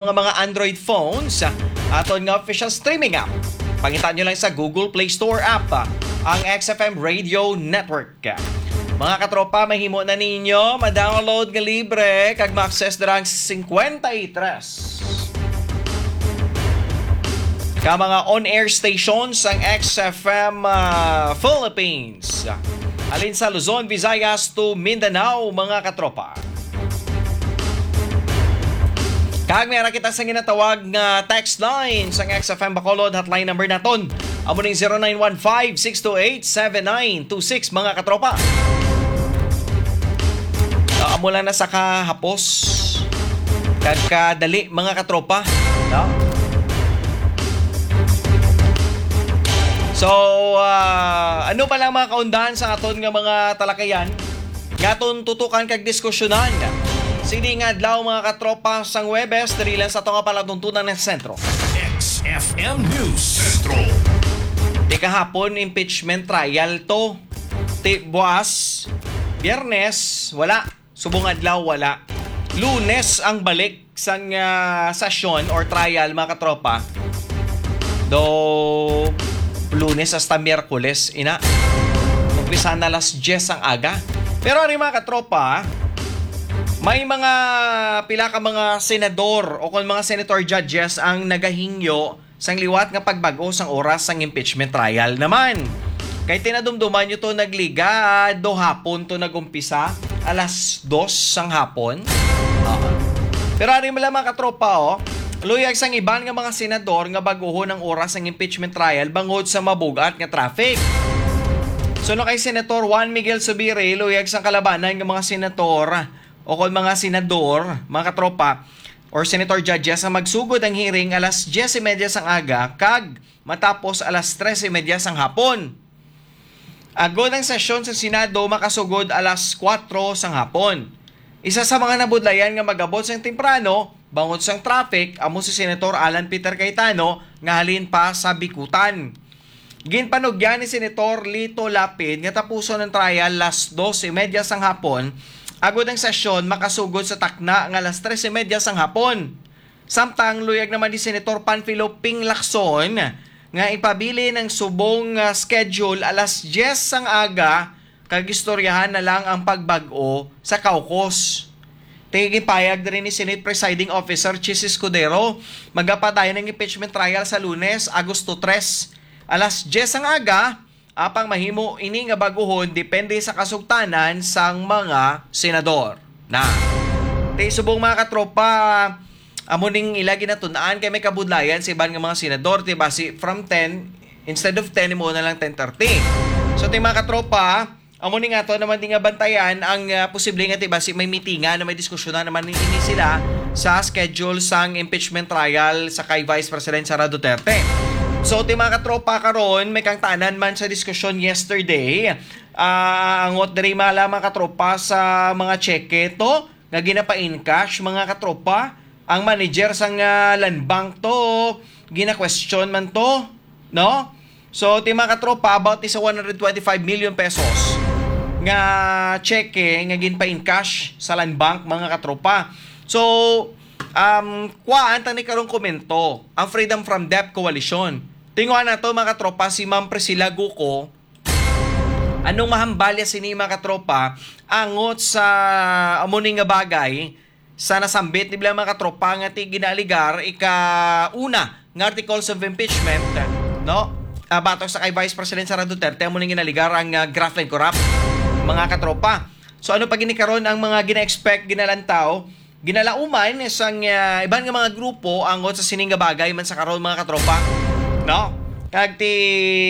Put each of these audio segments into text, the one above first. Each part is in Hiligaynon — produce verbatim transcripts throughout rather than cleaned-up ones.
nga mga Android phones, aton nga official streaming app. Pangita nyo lang sa Google Play Store app, ang X F M Radio Network. Mga katropa, mahimo na ninyo ma-download nga libre kag ma-access dira ang fifty-three ka mga on-air stations sang X F M, ah, Philippines. Halin sa Luzon, Visayas to Mindanao, mga katropa. Kag may ara kita sa ginatawag nga text line sang X F M Bacolod, hotline number naton. Amo ning zero nine one five, six two eight, seven nine two six, mga katropa. Ah, amo lang na sa kahapos. Kag kadali, mga katropa. No? So, ah, ano pa lang mga kaundahan sa aton nga mga talakayan? Nga aton tutukan kag diskusyonan. Sini nga adlaw, mga katropa, sang Huwebes, diri lang sa aton nga palatuntunan nga sentro. X F M News Central. Di kahapon, impeachment trial to. Ti buas, Biyernes, wala. Subong adlaw, wala. Lunes ang balik sang, ah, sesyon or trial, mga katropa. Do Lunes hasta Miyerkules, ina. Umpisa na alas diyes ang aga. Pero ari, mga katropa, may mga pila ka mga senador o kon mga senator judges ang nagahingyo sang liwat nga pagbag-o sang oras sang impeachment trial naman. Kay tinadumduman nyo to, nagligad do hapon to nag-umpisa, alas dos sang hapon. Oo. Pero ari man lang, mga katropa, oh, luyag sang iban nga mga senador nga bag-ohon ang oras sang impeachment trial bangod sa mabug-at nga traffic. Suno kay Senator Juan Miguel Zubiri, luyag sang kalabanan nga mga senator o kon mga senador, mga katropa, or senator judges nga magsugod ang hearing alas diyes y media sang aga kag matapos alas tres y media sang hapon. Agod ang sesyon sa Senado makasugod alas kuwatro sang hapon. Isa sa mga nabudlayan nga mag-abot sang temprano bangod sang traffic amo si Senator Alan Peter Cayetano nga halin pa sa Bicutan. Ginpanugyan ni Senator Lito Lapid nga tapuson ang trial alas dos y media sang hapon, agod ang sesyon makasugod sa takna nga alas tres y media sang hapon. Samtang luyag naman ni Senator Panfilo Ping Lacson nga ipabilin ang subong nga schedule alas diyes sang aga kag istoryahan na lang ang pagbag-o sa caucus. Tingig ipahayag diri ni Senate Presiding Officer Chiz Escudero, magapadayon ang impeachment trial sa Lunes, Agosto tres, alas diyes sang aga, apang mahimo ini nga bag-ohon depende sa kasugtanan sang mga senador. Na. Ti subong, mga katropa, amo ning ila ginatun-an kay may kabudlayan sa iban nga mga senador, ti basi from ten, instead of ten, imo na lang ten thirty. So, ti mga katropa, amo ni nga to naman di nga bantayan ang, ah, posible nga ti basi may mitingan na may diskusyonan naman ni ini sila sa schedule sang impeachment trial sa kay Vice President Sara Duterte. So, ti mga katropa, karon may kangtanan man sa diskusyon yesterday. Ah, angot diri mala, mga katropa, sa mga cheque to nga ginapa-encash, mga katropa. Ang manager sang, ah, Land Bank to, gina-question man to, no? So, ti mga katropa, about is one hundred twenty-five million pesos nga cheque nga ginpa-encash sa Land Bank, mga katropa. So, um, kuhaan ta ni karong komento ang Freedom from Debt Coalition. Tinguha nato, mga katropa, si Ma'am Priscilla Guco. Anong mahambalya sini, mga katropa, angot sa amo ni nga bagay sa nasambit ni bilang mga katropa nga ti ginaaligar ika-una nga articles of impeachment, no? Ah, batok sa kay Vice President Sara Duterte, amo ning ginaligar ang, ah, graft and corrupt, mga katropa. So, ano pa gini karon ang mga gina-expect, ginalantaw, ginalauman sang, ah, iban nga mga grupo angot sa sining nga bagay man sa karon, mga katropa, no? Kag ti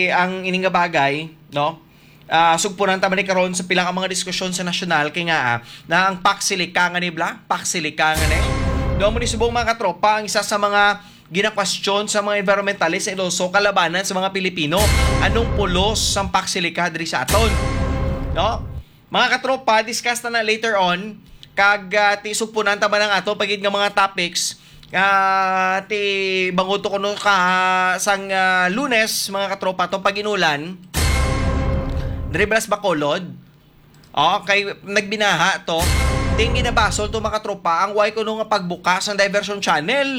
ang ini nga bagay, no? Ah, sugpunan ta man ni karon sa pila ka mga diskusyon sa nasyonal kay nga, ah, na ang paksilikangan ni bla, paksilikangan ni. Do mo ni subong, mga katropa, ang isa sa mga ginakwestiyon sa mga environmentalist and also kalabanan sa mga Pilipino. Anong pulos sang paksilika diri sa aton? No? Mga katropa, discuss ta na later on. Kag, ah, ti sugpunan ta man ang ato pagid nga mga topics. Ah, ti bangod to kuno ka sang, ah, Lunes, mga katropa, to pag-inulan. Diri bala sa Bacolod. Okay, nagbinaha to. Ang ginabasol to, mga tropa, ang way kuno nga pagbukas ang diversion channel.